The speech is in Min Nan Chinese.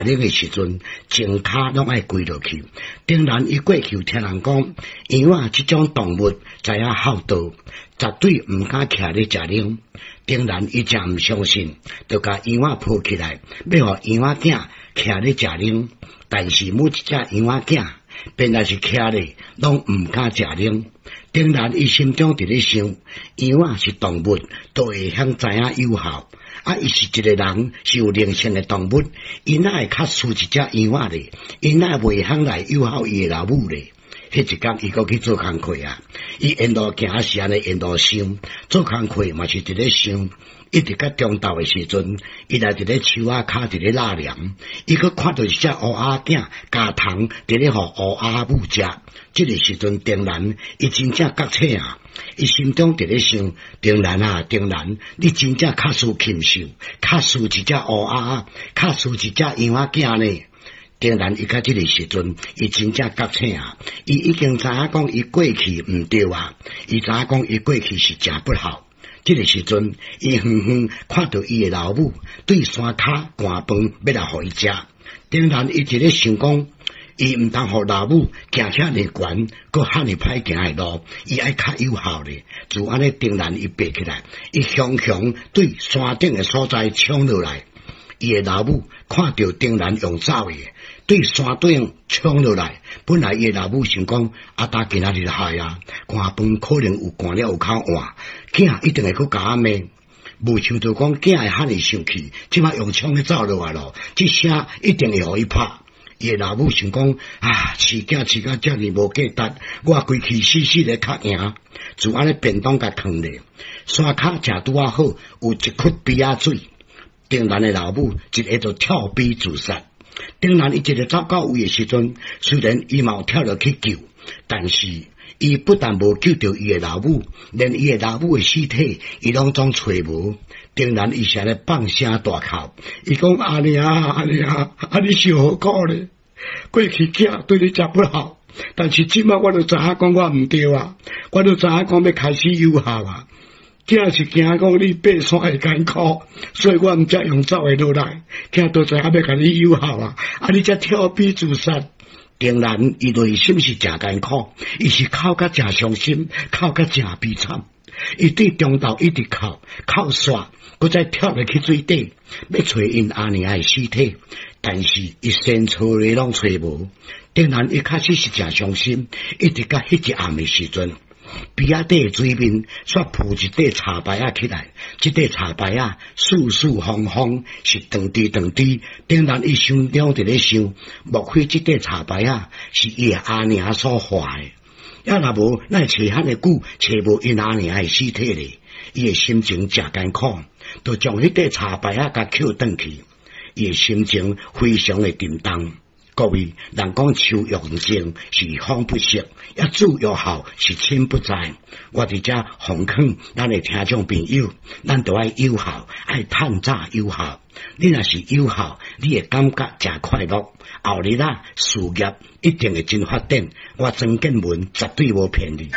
奶的時陣，前跤攏愛跪落去。當然，伊過去有聽人講，羊仔這種動物知影孝道，絕對毋敢徛咧食奶。當然，伊誠毋相信，就共羊仔抱起來，欲予羊仔囝徛咧食奶。但是每一隻羊仔囝，便來是徛咧，攏毋敢食奶。當然，伊心中佇咧想，羊仔是動物，都會曉知影友好。啊！伊是一個人，是有靈性的動物，伊哪會較輸一隻羊仔咧？伊哪會袂曉來友好伊的老母咧？彼一工，伊閣去做工課啊！伊沿路行是按呢沿路想，做工課嘛是佇咧想。一直到中晝的時陣，伊來佇咧樹仔跤佇咧納涼，伊閣看著一隻烏鴉囝咬蟲佇咧予烏鴉母食。這个時陣，當然伊真正覺醒啊！伊心中佇咧想：當然啊，當然，你真正較輸禽獸，較輸一隻烏鴉，較輸一隻羊仔囝呢。當然，伊到這个時陣，伊真正覺醒啊！伊已經知影講伊過去毋對啊，伊知影講伊過去是誠不好。這个時陣，伊遠遠看著伊的老母對山跤摜飯欲來予伊食。當然，伊佇咧想講，伊毋通予老母行遮爾懸，閣遐爾歹行的路，伊愛較友好咧。就按呢，當然伊爬起來，伊雄雄對山頂的所在衝落來。伊的老母看著當然用走的，對山頂衝落來。本來伊的老母想講，阿達今仔日害啊，摜飯可能有摜了有較晏，囝一定會閣共我罵。無想到講囝會遐爾生氣，這擺用衝咧走落來咯，這聲一定會予伊拍。伊的老母想講啊，飼囝飼甲遮爾無價值，我規氣死死咧較贏，就按呢便當共囥咧。山跤正拄仔好，有一窟埤仔水。當然的老母一下就跳埤自殺。當然伊一个走到位的時陣，雖然伊嘛有跳落去救，但是伊不但無救著伊的老母，連伊的老母的屍體，伊攏總揣無。當然伊是按呢放聲大哭，伊講阿娘阿娘，啊你受何苦咧？過去囝對你誠不好，但是這擺我就知影講我毋對啊，我就知影講欲開始友好啊。囝是驚講你爬山會艱苦，所以我毋才用走的落來。囝都知影欲共你友好啊，啊你才跳埤自殺。當然，伊內心是誠艱苦，伊是哭甲誠傷心，哭甲誠悲慘。伊對中晝一直哭，哭煞，閣再跳落去水底，欲揣𪜶阿娘的屍體，但是伊先揣咧攏揣無。當然，伊確實是誠傷心，一直到彼一暗的時陣。埤仔底的水面煞浮一塊柴牌仔起來，這塊柴牌仔四四方方，是長直長直。當然，伊心中佇咧想，莫非這塊柴牌仔是伊的阿娘所化的？啊，若無，哪會揣遐爾久，揣無𪜶阿娘的屍體咧？伊的心情誠艱苦，就將彼塊柴牌仔共抾轉去。伊的心情非常的沉重。各位，人講樹欲靜是風不息，啊子欲孝是親不在。我佇遮奉勸咱的聽眾朋友，咱都愛友好，愛趁早友好。你若是友好，你會感覺誠快樂。後日啊，事業一定會真發展。我曾建文絕對無騙你。